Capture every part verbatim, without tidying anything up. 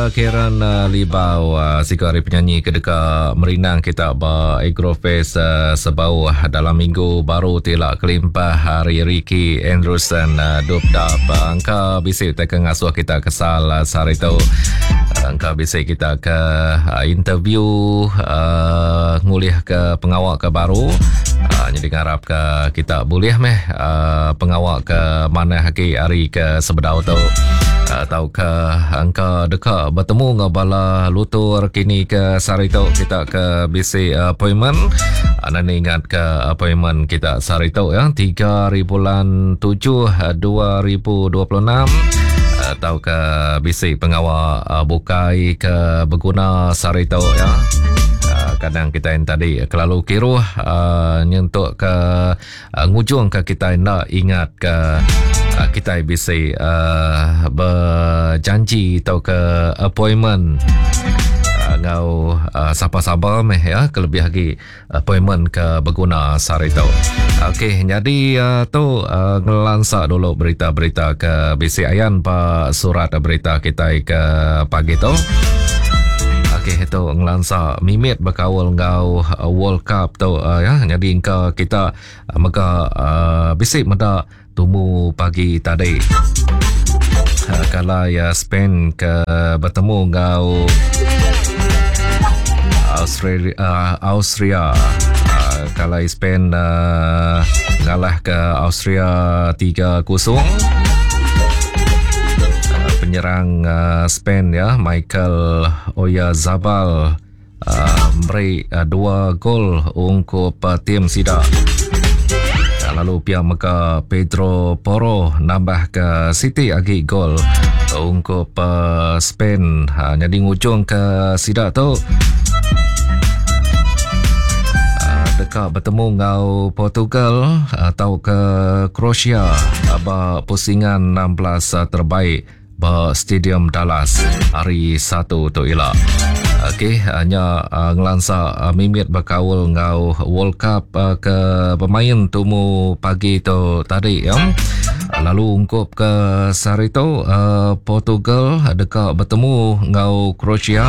Karen Libau siku ari penyanyi ke deka merindang kita ba Agrofest Sebauh dalam minggu baru ti ila kelimpah ari Ricky Andrewson Dup Dap. Engka bisi utai ke ngasuh kita kesal sehari tu. Engka bisi kita ke interview uh, ngulih ke pengawa ke baru. Uh, jadi ngarap ke kita boleh meh uh, pengawa ke manah agi ari ke sebedau tu. Atau ke engka deka bertemu dengan bala lutur kini ke sehari tu kita ke bisi appointment. Anda ni ingat ke appointment kita sehari tu ya, tiga hari bulan tujuh dua ribu dua puluh enam, atau ke bisi pengawa bukai ke berguna sehari tu ya. Kadang kita yang tadi kelalu kiruh uh, nyentuk ke uh, ngujung ke kita nak ingat ke uh, kita bisi uh, berjanji atau ke appointment uh, ngau uh, sapa-sapa meh ya, kelebih lagi appointment ke berguna sehari tu. Okey, jadi uh, tu uh, ngelansa dulu berita-berita ke bisi ayan pa surat berita kita ke pagi tu. Okey, itu ngelansa mimit berkaul ngau World Cup tu uh, ya. Jadi engka kita uh, mega uh, bisi meda tumu pagi tadi. Uh, kalau ya Spain ke bertemu ngau Australia, uh, Austria. Uh, kalau Spain uh, ngalah ke Austria tiga kosong. Penyerang uh, Spain ya, Michael Oyarzabal uh, beri uh, dua gol ungkup uh, tim sida. Lalu pihak mega Pedro Porro nambah ke City agi gol ungkup uh, Spain. Ha, jadi ngujung ke sida tu uh, dekat bertemu ngau Portugal atau ke Croatia ba pusingan enam belas terbaik ba Stadium Dallas hari satu tu ila. Okey, hanya uh, ngelansa uh, mimit berkaul ngau World Cup uh, ke bermain tumu pagi tu tadi ya. Lalu ungkup ke sehari tu uh, Portugal dekat bertemu ngau Croatia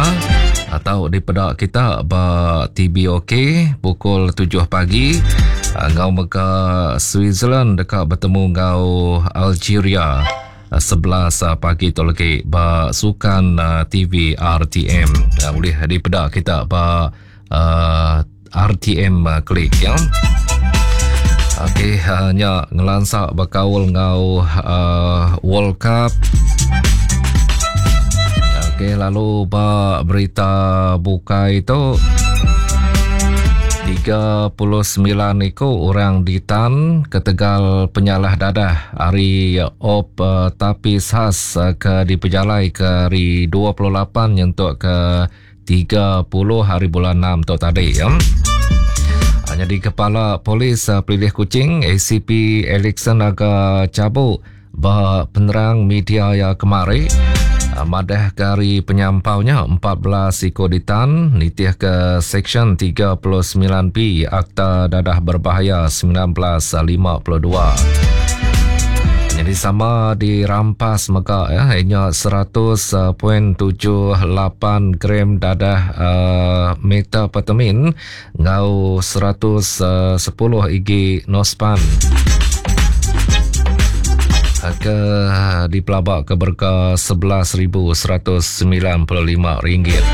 atau di pedak kita ba T B O K pukul tujuh pagi. Ngau mega Switzerland dekat bertemu ngau Algeria sebelas pagi tu lagi ba sukan uh, T V R T M. Uh, boleh dipedak kita ba uh, R T M uh, klik ya. Okey, hanya uh, ngelansa berkaul ngau uh, World Cup. Okey, lalu ba berita bukai tu tiga puluh sembilan ekor orang ditan ketegal penyalah dadah hari op uh, tapis khas uh, ke dipejalai ke hari dua puluh lapan nyentuk ke tiga puluh hari bulan enam tu tadi ya. Jadi Kepala Polis uh, Pelilih Kuching A C P Alexson Naga Cabuk ba penerang media ya kemari madah ke hari penyampaunya empat belas ekor ditan nitih ke Seksyen tiga puluh sembilan B Akta Dadah Berbahaya sembilan belas lima puluh dua. Jadi sama dirampas mega ya, hanya seratus perpuluhan tujuh lapan gram dadah uh, metapetamin ngau seratus sepuluh igi nospan. Ke dipelabak ke berka sebelas ribu seratus sembilan puluh lima ringgit.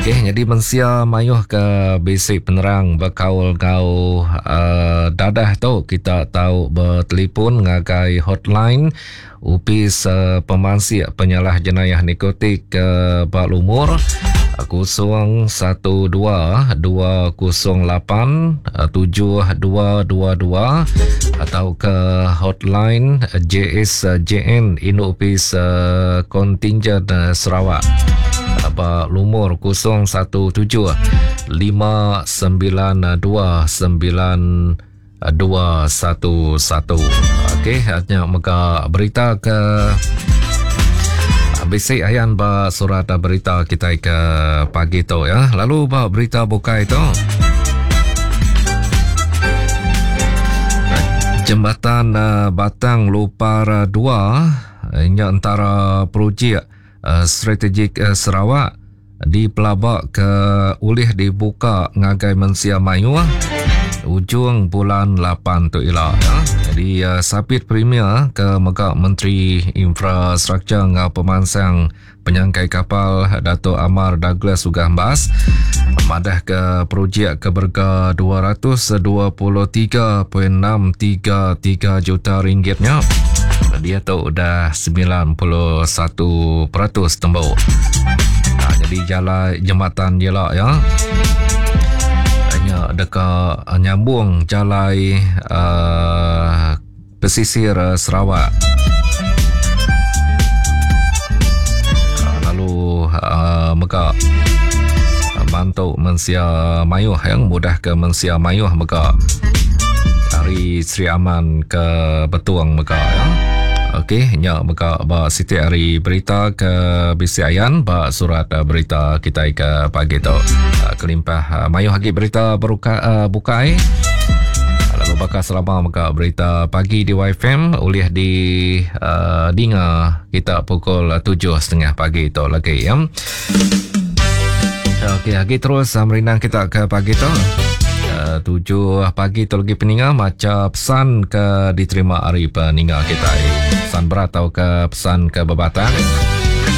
Okey, jadi mensia mayuh ke basic penerang berkaul kau uh, dadah tu kita tahu bertelefon ngagai hotline Upis uh, Pemansik Penyalah Jenayah Narkotik ke uh, Bak Lumur kosong satu dua dua kosong lapan tujuh dua dua dua atau ke hotline J S J N Induk Upis uh, Kontingen uh, Sarawak Bak Lumur kosong satu tujuh lima sembilan dua sembilan dua satu satu. Okey, hanya mega berita ke bisik ayan ba surat berita kita ke pagi tu ya. Lalu ba berita bukai tu Jembatan Batang Lupar dua ini antara projek uh, Strategik uh, Sarawak dipelabak ke ulih dibuka ngagai mensia mayuh ujung bulan lapan tu ila ya. Jadi uh, Sapit Premier ke mega Menteri Infrastruktur ngau Pemansang Penyangkai Kapal Dato' Amar Douglas Uggah Embas madah ke projek ke berga dua ratus dua puluh tiga perpuluhan enam tiga tiga juta ringgitnya dia tu dah sembilan puluh satu peratus tembok. Ha, jadi jalan jembatan je lah ya. Hanya dekat nyambung jalai uh, pesisir Sarawak. Uh, lalu uh, mega bantu mensia mayuh yang mudah ke mensia mayuh mega dari Sri Aman ke Betuang mega ya. Okey, nya mega ba siti hari berita ke bisiayan ba surat berita kita ke pagi tu. Kelimpah mayuh lagi berita beruka, bukai. Lalu bakal selama mega berita pagi di Y F M oleh di uh, dinga kita pukul tujuh setengah pagi tu lagi ya. Okey, lagi terus merindang kita ke pagi tu. Tujuh pagi tu lagi peninga maca pesan ke diterima hari peninga kita. Pesan berat atau ke pesan ke bebatang.